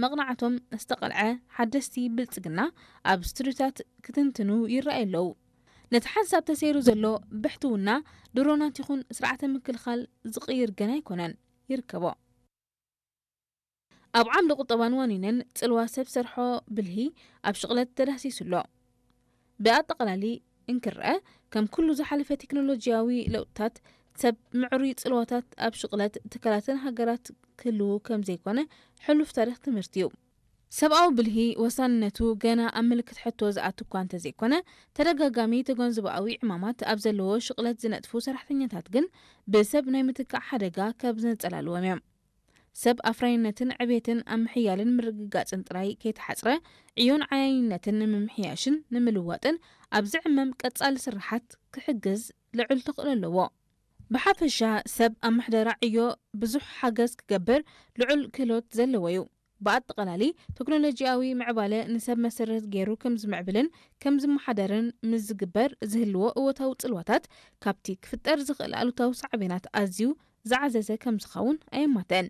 መቕናዕቶም ዝተቐልዐ ሓደስቲ ብልጽግና ኣብ ስቱድዮታት ክትንትኑ ይረኣዩ ኣለዉ። ነቲ ሓንሳብ ተሰይሩ ዘሎ ብሕትውና ድሮናት ይኹን ስርዓተ ምክልኻል ዝቕይር ገና ኣይኮነን፣ ይርከቦ። ኣብ ዓምዲ ቁጠባን ዋኒንን ጽልዋ ሰብ ሰርሖ ብልሂ ኣብ ሽቕለት ተዳህሲሱ ኣሎ። ብኣጠቓላሊ እንክረአ፣ ከም ኩሉ ዝሓለፈ ቴክኖሎጂያዊ ለውጥታት፣ ሰብ ምዕሩይ ጽልዋታት ኣብ ሽቕለት ትካላትን ሃገራት ክህልዉ ከም ዘይኮነ ሕሉፍ ታሪኽ ትምህርቲ እዩ። ሰብኣዊ ብልሂ ወሳንነቱ ገና ኣብ ምልክት ሕቶ ዝኣቱ እኳ እንተዘይኮነ፣ ተደጋጋሚ ተገንዝቦኣዊ ዕማማት ኣብ ዘለዎ ሽቕለት ዝነጥፉ ሰራሕተኛታት ግን ብሰብ ናይ ምትካእ ሓደጋ ካብ ዘንጸላልዎም እዮም። ሰብ ኣፍራይነትን ዕቤትን ኣብ ምሕያልን ምርግጋጽን ጥራይ ከይተሓጽረ፣ ዕዮን ዓያይነትን ንምምሕያሽን ንምልዋጥን ኣብ ዝዕመም ቀጻሊ ስርሓት ክሕግዝ ልዑል ተኽእሎ ኣለዎ። ብሓፈሻ ሰብ ኣብ ምሕደራ ዕዮ ብዙሕ ሓገዝ ክገብር ልዑል ክህሎት ዘለዎ እዩ። ብኣጠቓላሊ፣ ቴክኖሎጂያዊ ምዕባለ ንሰብ መሰረት ገይሩ ከም ዝምዕብልን ከም ዝመሓደርን ምስ ዝግበር ዝህልዎ እወታዊ ጽልዋታት፣ ካብቲ ክፍጠር ዝኽእል ኣሉታዊ ሳዕቤናት ኣዝዩ ዝዓዘዘ ከም ዝኸውን ኣየማትእን።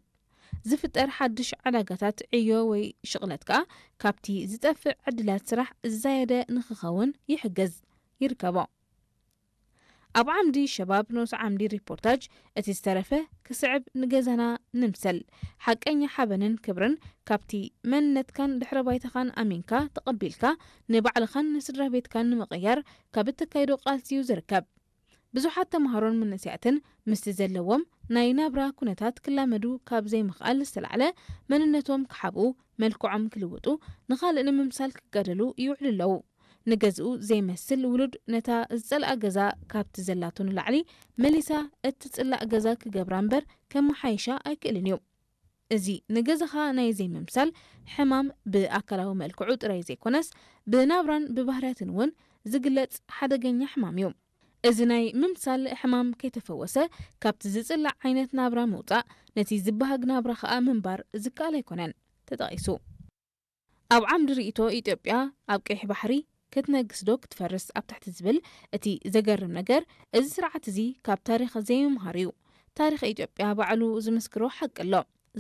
ዝፍጠር ሓድሽ ዕዳጋታት ዕዮ ወይ ሽቕለት ከኣ ካብቲ ዝጠፍእ ዕድላት ስራሕ ዝዛየደ ንኽኸውን ይሕግዝ፣ ይርከቦ። ኣብ ዓምዲ ሸባብ ንኡስ ዓምዲ ሪፖርታጅ፣ እቲ ዝተረፈ ክስዕብ ንገዛና ንምሰል። ሓቀኛ ሓበንን ክብርን ካብቲ መንነትካን ድሕረ ባይታኻን ኣሚንካ ተቐቢልካ ንባዕልኻን ንስድራ ቤትካን ንምቕያር ካብ እተካይዶ ቃልሲ እዩ ዝርከብ። ብዙሓት ተምሃሮን መንእሰያትን ምስቲ ዘለዎም ናይ ናብራ ኩነታት ክላመዱ ካብ ዘይምኽኣል ዝተላዕለ መንነቶም ክሓብኡ፣ መልክዖም ክልውጡ፣ ንኻልእ ንምምሳል ክጋደሉ ይውዕሉ ኣለዉ። ንገዝኡ ዘይመስል ውሉድ ነታ ዝጸልኣ ገዛ ካብቲ ዘላቶ ንላዕሊ መሊሳ እትጽላእ ገዛ ክገብራ እምበር ከመሓይሻ ኣይክእልን እዩ። እዚ ንገዛኻ ናይ ዘይምምሳል ሕማም ብኣካላዊ መልክዑ ጥራይ ዘይኮነስ ብናብራን ብባህርያትን እውን ዝግለጽ ሓደገኛ ሕማም እዩ። እዚ ናይ ምምሳል ሕማም ከይተፈወሰ ካብቲ ዝጽላእ ዓይነት ናብራ ምውጻእ፣ ነቲ ዝበሃግ ናብራ ኸኣ ምንባር ዝከኣል ኣይኮነን ተጠቒሱ። ኣብ ዓምዲ ርእይቶ ኢትዮጵያ ኣብ ቀይሕ ባሕሪ ክትነግስ ዶ ክትፈርስ ኣብ ትሕቲ ዝብል እቲ ዘገርም ነገር፣ እዚ ስርዓት እዚ ካብ ታሪኽ ዘይምምሃሩ እዩ። ታሪኽ ኢትዮጵያ ባዕሉ ዝምስክሮ ሓቂ ኣሎ።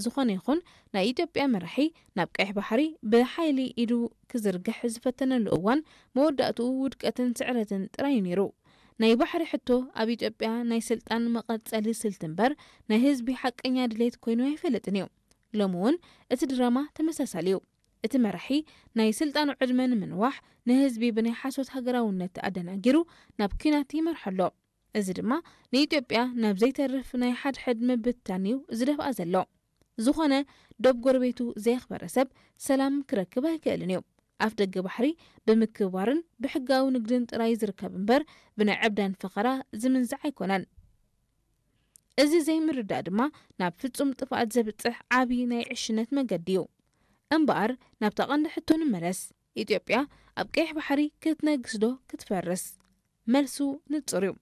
ዝኾነ ይኹን ናይ ኢትዮጵያ መራሒ ናብ ቀይሕ ባሕሪ ብሓይሊ ኢዱ ክዝርግሕ ዝፈተነሉ እዋን መወዳእትኡ ውድቀትን ስዕረትን ጥራይ እዩ ነይሩ። ናይ ባሕሪ ሕቶ ኣብ ኢትዮጵያ ናይ ስልጣን መቐጸሊ ስልቲ እምበር ናይ ህዝቢ ሓቀኛ ድሌት ኮይኑ ኣይፈልጥን እዩ። ሎሚ እውን እቲ ድራማ ተመሳሳሊ እዩ። እቲ መራሒ ናይ ስልጣኑ ዕድመ ንምንዋሕ ንህዝቢ ብናይ ሓሶት ሃገራውነት ኣደናጊሩ ናብ ኲናት ይመርሖ ኣሎ። እዚ ድማ ንኢትዮጵያ ናብ ዘይተርፍ ናይ ሓድሕድ ምብትታን እዩ ዝደፍኣ ዘሎ። ዝኾነ ዶብ ጎረቤቱ ዘየኽበረ ሰብ ሰላም ክረክብ ኣይክእልን እዩ። ኣፍ ደገ ባሕሪ ብምክብባርን ብሕጋዊ ንግድን ጥራይ ዝርከብ እምበር ብናይ ዕብዳን ፈኸራ ዝምንዛዕ ኣይኮነን። እዚ ዘይምርዳእ ድማ ናብ ፍጹም ጥፍኣት ዘብጽሕ ዓቢ ናይ ዕሽነት መገዲ እዩ። እምበኣር ናብታ ቀንዲ ሕቶ ንመለስ። ኢትዮጵያ ኣብ ቀይሕ ባሕሪ ክትነግስ ዶ ክትፈርስ? መልሱ ንጹር እዩ።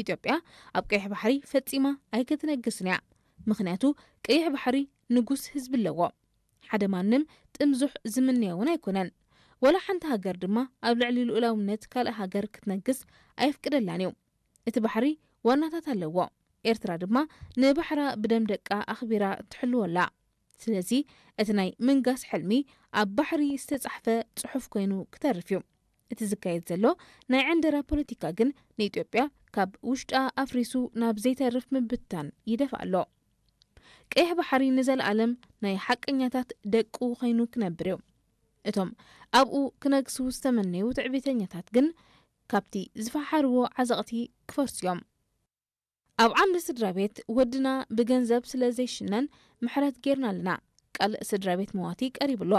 ኢትዮጵያ ኣብ ቀይሕ ባሕሪ ፈጺማ ኣይክትነግስን እያ። ምኽንያቱ ቀይሕ ባሕሪ ንጉስ ህዝቢ ኣለዎ። ሓደ ማንም ጥምዙሕ ዝምነዮ እውን ኣይኮነን። ወላ ሓንቲ ሃገር ድማ ኣብ ልዕሊ ልኡላውነት ካልእ ሃገር ክትነግስ ኣየፍቅደላን እዩ። እቲ ባሕሪ ዋናታት ኣለዎ። ኤርትራ ድማ ንባሕራ ብደም ደቃ ኣኽቢራ ትሕልዎ ኣላ። ስለዚ እቲ ናይ ምንጋስ ሕልሚ ኣብ ባሕሪ ዝተጻሕፈ ጽሑፍ ኮይኑ ክተርፍ እዩ። እቲ ዝካየድ ዘሎ ናይ ዕንደራ ፖለቲካ ግን ንኢትዮጵያ ካብ ውሽጣ ኣፍሪሱ ናብ ዘይተርፍ ምብትታን ይደፍኣ ኣሎ። ቀይሕ ባሕሪ ንዘለኣለም ናይ ሓቀኛታት ደቁ ኮይኑ ክነብር እዩ። እቶም ኣብኡ ክነግሱ ዝተመነዩ ትዕቢተኛታት ግን ካብቲ ዝፈሓርዎ ዓዘቕቲ ክፈርሱ እዮም። ኣብ ዓምዲ ስድራ ቤት ወድና ብገንዘብ ስለ ዘይሽነን ምሕረት ጌርና ኣለና። ቃል ስድራ ቤት መዋቲ ቀሪቡ ኣሎ።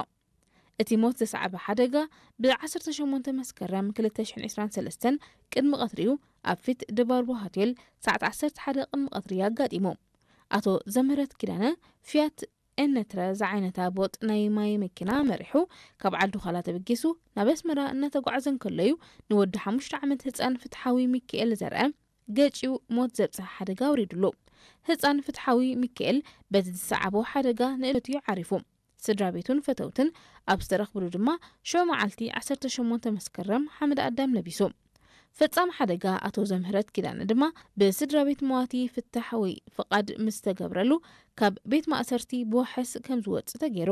እቲ ሞት ዘስዓበ ሓደጋ ብ ዓሰርተ ሸሞንተ መስከረም ክልተ ሽሕን ዕስራን ሰለስተን ቅድሚ ቀትሪኡ ኣብ ፊት ድባርቦ ሆቴል ሰዓት ዓሰርተ ሓደ ቅድሚ ቀትሪ ኣጋጢሙ። ኣቶ ዘምህረት ኪዳነ ፊያት ኤነትረ ዝዓይነታ ቦጥ ናይ ማይ መኪና መሪሑ ካብ ዓዲ ዃላ ተበጊሱ ናብ ኣስመራ እናተጓዓዘ እንከሎ እዩ ንወዲ ሓሙሽተ ዓመት ህጻን ፍትሓዊ ሚካኤል ዘርአ ገጭዩ ሞት ዘብጽሐ ሓደጋ ኣውሪድሉ። ህጻን ፍትሓዊ ሚካኤል በቲ ዝሰዓቦ ሓደጋ ንእለቱ እዩ ዓሪፉ። ስድራ ቤቱን ፈተውትን ኣብ ዝተረኽብሉ ድማ ሽዑ መዓልቲ ዓሰርተ ሸሞንተ መስከረም ሓመድ ኣዳም ለቢሱ። ፈጻሚ ሓደጋ ኣቶ ዘምህረት ኪዳነ ድማ ብስድራ ቤት መዋቲ ፍታሕ ወይ ፍቓድ ምስ ተገብረሉ ካብ ቤት ማእሰርቲ ብዋሕስ ከም ዝወጽእ ተገይሩ።